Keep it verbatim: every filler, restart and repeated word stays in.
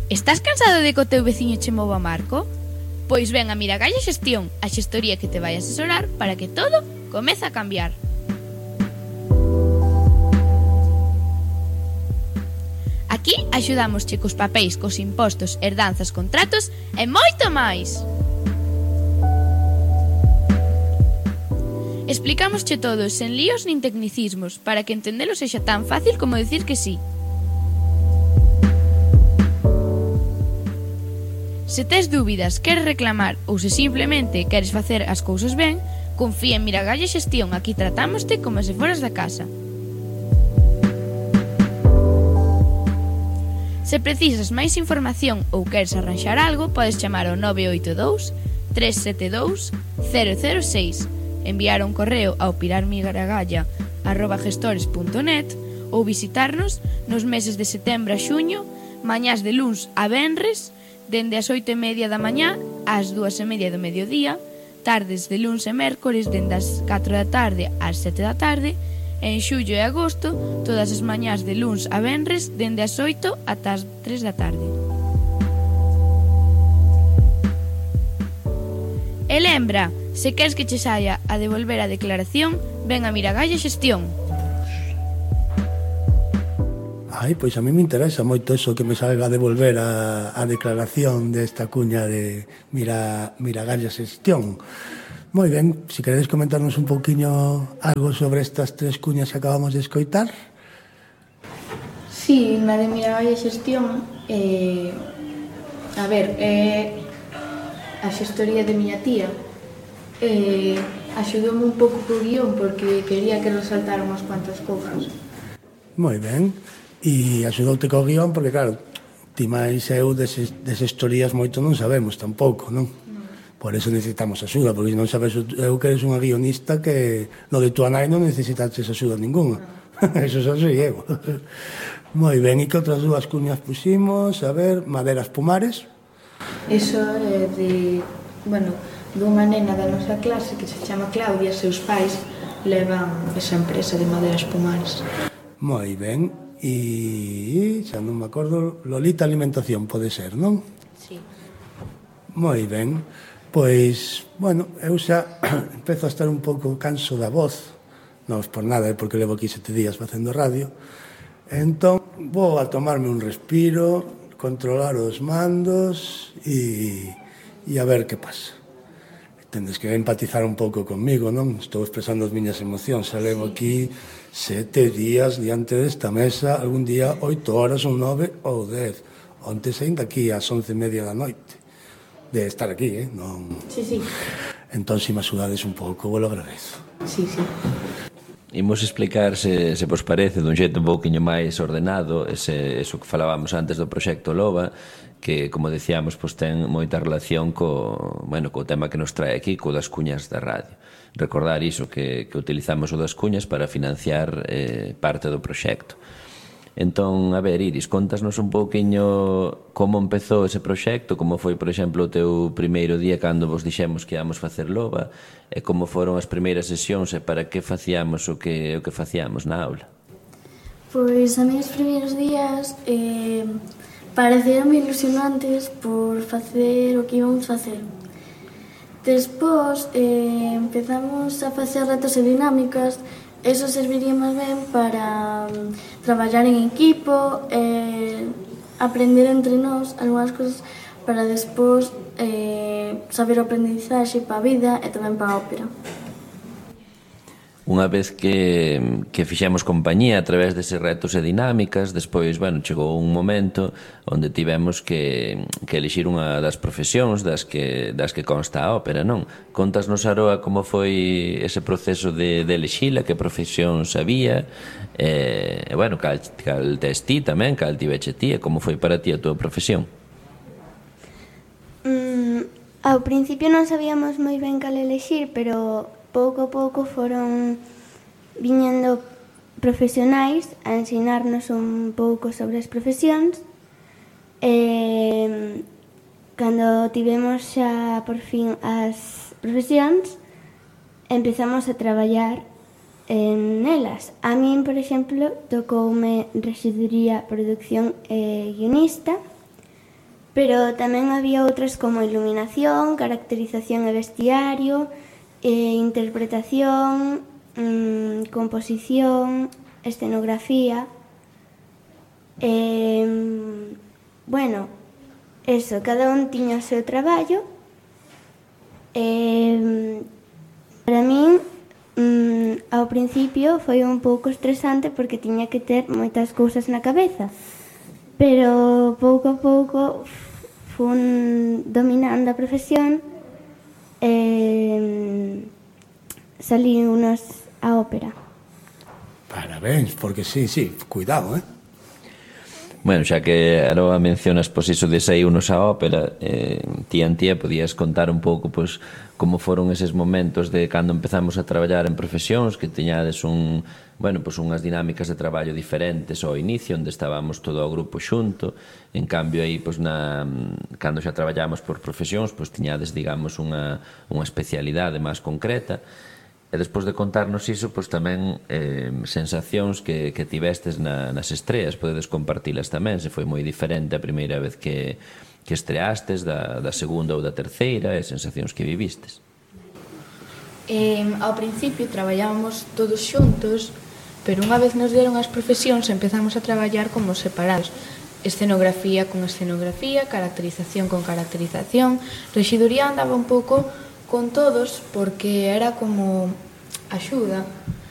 Estás cansado de que o teu veciño che mova Marco? Pois ven a Miragalla Xestión, a xestoría que te vai asesorar para que todo comece a cambiar. Aquí axudámosche cos papéis, cos impostos, herdanzas, contratos e moito máis. Explicámosche todo sen líos nin tecnicismos para que entendelo sexa tan fácil como decir que sí. Se tes dúbidas, queres reclamar ou se simplemente queres facer as cousas ben, confía en Miragalla Xestión, aquí tratámoste como se foras da casa. Se precisas máis información ou queres arranxar algo, podes chamar ao nove oito dous, tres sete dous, cero cero seis, enviar un correo ao pirarmiragalla arroba gestores punto net ou visitarnos nos meses de setembro a xuño, mañás de luns a venres, dende as oito e media da mañá ás dúas e media do mediodía, tardes de luns e mércores dende as catro da tarde ás sete da tarde, e en xullo e agosto todas as mañás de luns a venres dende as oito ata as tres da tarde. E lembra, se queres que che saia a devolver a declaración, ven a Miragalla Xestión. Ai, pois a mí me interesa moito eso que me salga a devolver a, a declaración desta cuña de Mira, Miragalla Xestión. Moi ben, se queredes comentarnos un pouquiño algo sobre estas tres cuñas que acabamos de escoitar. Sí, na de Miragalla Xestión, eh, a ver, é eh, a xestoría de miña tía. Eh, axudoume un pouco co guión porque quería que resaltara unhas cuantas cousas. Moi ben. E axudoute co guión porque, claro, ti máis eu deses, deses historias moito non sabemos tampouco, non? No. Por eso necesitamos axuda, porque non sabes eu que eres unha guionista que no de túa nai non necesitaches axuda ninguna. No. Eso xa sei eu. Moi ben, e que outras dúas cuñas pusimos? A ver, Maderas Pumares. Eso é de, bueno, dunha nena da nosa clase que se chama Claudia, seus pais levan esa empresa de Maderas Pumares. Moi ben. E xa non me acordo, Lolita Alimentación pode ser, non? Sí. Moi ben, pois, bueno, eu xa empezo a estar un pouco canso da voz, non por nada, é porque levo aquí sete días facendo radio, entón vou a tomarme un respiro, controlar os mandos e, e a ver que pasa. Tendes que empatizar un pouco conmigo, non? Estou expresando as miñas emocións, xa levo aquí sete días diante desta mesa, algún día oito horas ou nove ou dez. Onte saín daqui ás once e media da noite. De estar aquí, eh? Non... Sí, sí. Entón, se me axudades un pouco, vos lo agradezo. Sí, sí. Imos explicar, se, se vos parece, dun xeito un pouquiño máis ordenado, ese, eso que falábamos antes do proxecto Loba, que, como decíamos, pois ten moita relación co, bueno, co tema que nos trae aquí, co das cuñas da radio. Recordar iso, que, que utilizamos o das cuñas para financiar eh, parte do proxecto. Entón, a ver, Iris, contasnos un pouquiño como empezou ese proxecto, como foi, por exemplo, o teu primeiro día cando vos dixemos que íamos facer Loba, e como foron as primeiras sesións e para que facíamos o que, o que facíamos na aula. Pois a mí os primeiros días eh, pareceron ilusionantes por facer o que íbamos facer. Despois eh, empezamos a facer retos e dinámicas. Eso serviría máis ben para um, traballar en equipo, eh, aprender entre nós algunhas cousas para despois eh, saber o aprendizaxe para a vida e tamén para a ópera. Unha vez que, que fixemos compañía a través deses retos e dinámicas, despois, bueno, chegou un momento onde tivemos que, que elixir unha das profesións das que, das que consta a ópera, non? Contasnos, Aroa, como foi ese proceso de, de elixila, que profesións había, e, bueno, cal, cal tes ti tamén, cal tiveche ti, e como foi para ti a túa profesión? Mm, ao principio non sabíamos moi ben cal elixir, pero pouco a pouco foron viñendo profesionais a ensinarnos un pouco sobre as profesións e cando tivemos xa por fin as profesións empezamos a traballar en elas. A min, por exemplo, tocoume rexiduría, producción e guionista. pero tamén había outras como iluminación, caracterización e vestiario, eh, interpretación, mmm, composición, escenografía. Eh, bueno, eso, cada un tiña o seu traballo. Eh, para min, mmm, ao principio foi un pouco estresante porque tiña que ter moitas cousas na cabeza, pero pouco a pouco fun dominando a profesión e salí unos a ópera. Parabéns, porque sí, sí, cuidado, eh? Bueno, xa que Aroa mencionas pois iso de sair unos á ópera, eh, ti Antía podías contar un pouco pois como foron eses momentos de cando empezamos a traballar en profesións, que teñades un, bueno, pois unhas dinámicas de traballo diferentes ao inicio, onde estábamos todo o grupo xunto. En cambio aí pois na cando xa traballamos por profesións, pois tiñades, digamos, unha unha especialidade máis concreta. E despois de contarnos iso, pois tamén eh, sensacións que, que tivestes na, nas estreas, podedes compartilas tamén, se foi moi diferente a primeira vez que, que estreastes, da, da segunda ou da terceira, e sensacións que vivistes. Eh, ao principio traballábamos todos xuntos, pero unha vez nos deron as profesións empezamos a traballar como separados. Escenografía con escenografía, caracterización con caracterización. Rexiduría andaba un pouco con todos porque era como axuda